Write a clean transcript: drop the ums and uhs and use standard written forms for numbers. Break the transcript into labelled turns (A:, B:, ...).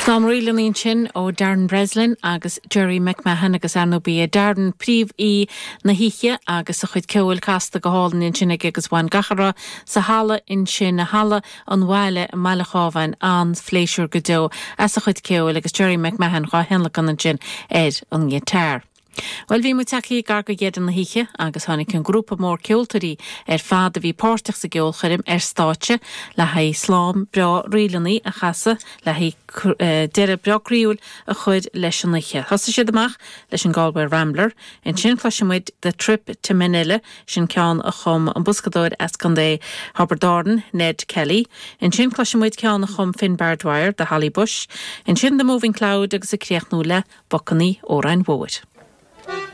A: Slám ríleanna ansin ó Darren Breslin agus Gerry McMahon agus ar ndóigh ba é Darren príomh-aoi na hoíche agus a chuid ceoil casta go hálainn ansin aige agus bhain gach a raibh sa halla ansin, Halla an Bhaile i mBaile Chábháin, an-phléisiúr go deo as a chuid ceoil agus Gerry McMahon dhá thionlacan ansin ar an ngiotár. Bhuel, bhí muid tagtha gar go dheireadh na hoíche agus tháinig an grúpa mór ceoltóirí ar fad a bhí páirteach sa gceolchoirm ar stáitse le haghaidh slám breá ríleanna a chasadh le haghaidh deireadh breá croíúil a chur leis an oíche. Thosaigh siad amach leis an Galway Rambler. Ansin cloisfidh muid The Trip to Manila, sin ceann a chum an boscadóir as Contae Thiobraid Árann, Ned Kelly. Ansin cloisfidh muid ceann a chum Finbar Dwyer, The Holly Bush. Ansin The Moving Cloud agus ag críochnú le Bacannaí Óráin Mhóir.